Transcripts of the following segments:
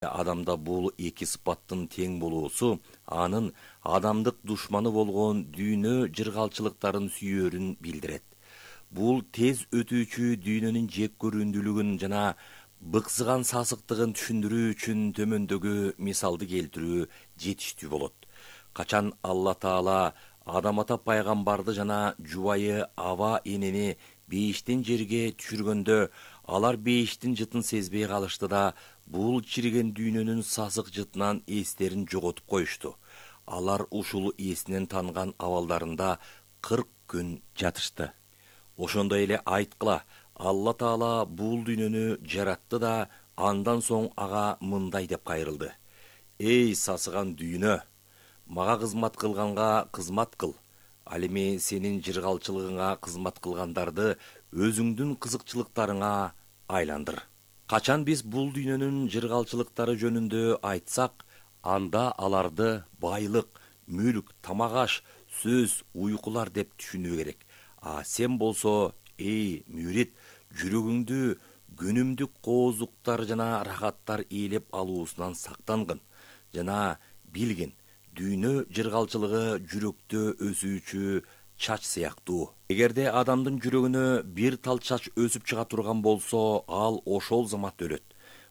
Адамда бул эки сыпаттын тең болуусу анын адамдык душманы болгон дүйнө жыргалчылыктарын сүйөрүн билдирет. Бул тез өтүүчү дүйнөнүн жек көрүүндүүлүгүн жана быксыган сасыктыгын түшүндүрүү үчүн төмөндөгү мисалды келтирүү жетиштүү болот. Качан Алла Таала Адам ата пайгамбарды жана жубайы Аба энени бейиштен жерге түшүргөндө алар бейиштин жытын сезбей калышты да бул чириген дүйнөнүн сасык жытынан эстерин жоготуп коюшту. Алар ушул эсинен танган абалдарында 40 күн жатышты. Ошондой эле айткыла, Алла Таала бул дүйнөнү жаратты да андан соң ага мындай деп кайрылды: Эй сасыган дүйнө, мага кызмат кылганга кызмат кыл. Ал эми сенин жыргалчылыгыңа кызмат кылгандарды өзүңдүн кызыкчылыктарыңа айландыр. Качан биз бул дүйнөнүн жыргалчылыктары жөнүндө айтсак, анда аларды байлык, мүлк, тамак-аш, сөз, уйкулар деп түшүнүү керек. А сен болсо, эй мүрит, жүрөгүңдү күнүмдүк коозуктар жана рахаттар ээлеп алуусунан сактангын жана билгин, дүйнө жыргалчылыгы жүрөктө өсүүчү чач сыяктуу. Эгерде адамдын жүрөгүнө бир тал чач өсүп чыга турган болсо, ал ошол замат өлөт.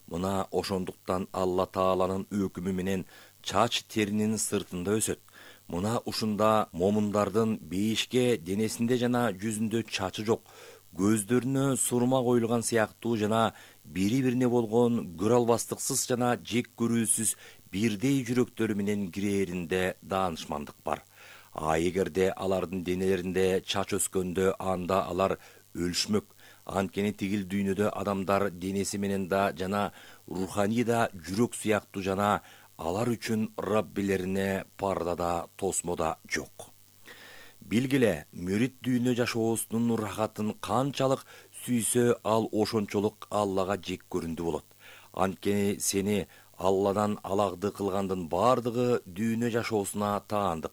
Мына ошондуктан Алла Тааланын өкүмү менен чач теринин сыртында өсөт. Мына ушунда момундардын бейишке денесинде жана жүзүндө чачы жок, көздөрүнө сурма коюлган сыяктуу жана бири-бирине болгон көрө албастыксыз жана жек көрүүсүз бирдей жүрөктөрү менен кирээринде даанышмандык бар. А эгерде алардын денелеринде чач өскөндө, анда алар өлүшмөк. Анткени тигил дүйнөдө адамдар денеси менен да жана руханий да жүрөк сыяктуу жана алар үчүн Раббилерине парда да тосмо да жок. Билгиле, мүрит дүйнө жашоосунун рахатын канчалык сүйсө, ал ошончолук Аллага жек көрүндү болот. Анткени сени Алладан алагды кылгандын бардыгы дүйнө жашоосуна таандык.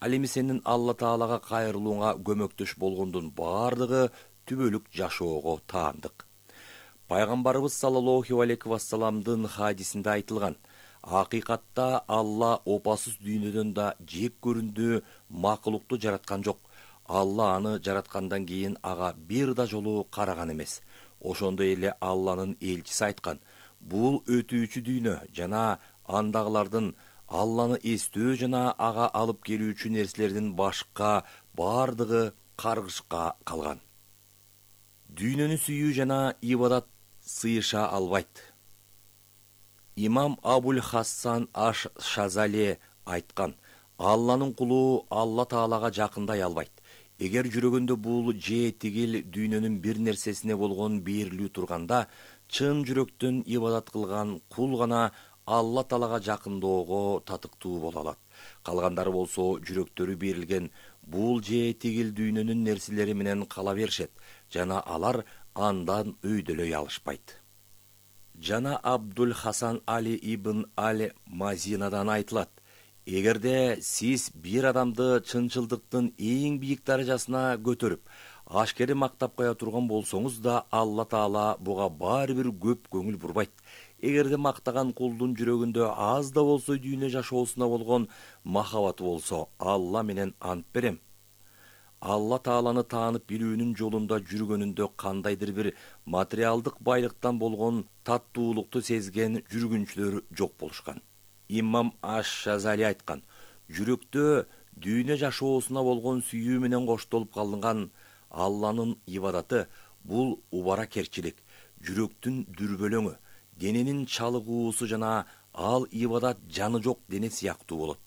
Ал эми сенин Алла Таалага кайрылууңа көмөктөш болгондун бардыгы түбөлүк жашоого таандык. Пайгамбарыбыз саллаллаху алейхи вассаламдын хадисинде айтылган: акыйкатта Алла опасыз дүйнөдөн да жек көрүндүү макулукту жараткан жок. Алла аны жараткандан кийин ага бир да жолу караган эмес. Ошондой эле Алланын элчиси айткан: бул өтүүчү дүйнө жана андагылардын Алланы эстөө жана ага алып келүүчү нерселердин башка бардыгы каргышка калган. Дүйнөнү сүйүү жана ибадат сыйыша албайт. Имам Абуль Хасан аш-Шазали айткан: Алланын кулу Алла Таалага жакындай албайт. Эгер жүрөгүндө бул же тигил дүйнөнүн бир нерсесине болгон берилүү турганда, чын жүрөктөн ибадат кылган кул гана Алла Таалага жакындоого татыктуу боло алат. Калгандары болсо жүрөктөрү берилген бул же тигил дүйнөнүн нерселери менен кала беришет жана алар андан өйдөлөй алышпайт. Жана Абдул Хасан Али ибн Аль-Мазинадан айтылат: эгерде сиз бир адамды чынчылдыктын эң бийик даражасына көтөрүп, ашкери мактап кое турган болсоңуз да, Алла Таала буга баары бир көп көңүл бурбайт. Эгерде мактаган кулдун жүрөгүндө аз да болсо дүйнө жашоосуна болгон махабаты болсо, Алла менен ант берем, Алла Тааланы таанып билүүнүн жолунда жүргөнүндө кандайдыр бир материалдык байлыктан болгон таттуулукту сезген жүргүнчүлөр жок болушкан. Имам аш-Шазали айткан: жүрөктө дүйнө жашоосуна болгон сүйүү менен коштолуп калынган Алланын ибадаты бул убаракерчилик, жүрөктүн дүрбөлөңү, дененин чалыгуусу жана ал ибадат жаны жок дене сыяктуу болот.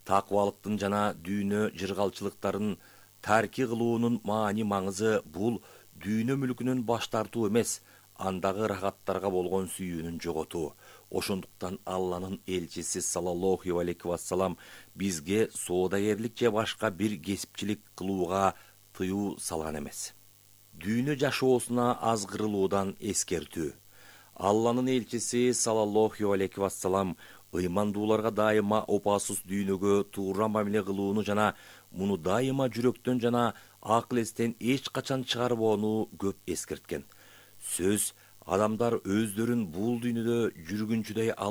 Такыбалыктын жана дүйнө жыргалчылыктарын тарки кылуунун маани маңызы бул дүйнө мүлкүнөн баш тартуу эмес, андагы рахаттарга болгон сүйүүнүн жоготуу. Ошондуктан Алланын элчиси саллаллаху алейхи вассалам бизге соодагерлик же башка бир кесипчилик кылууга тыюу салган эмес. Дүйнө жашоосуна азгырылуудан эскертүү. Алланын элчиси саллаллаху алейхи вассалам ыймандууларга дайыма опасыз дүйнөгө туура мамиле кылууну жана муну дайыма жүрөктөн жана акыл эстен эч качан чыгарбоону көп эскерткен. Сөз Адамдар өздөрүн бул дүйнөдө жүргүнчүдөй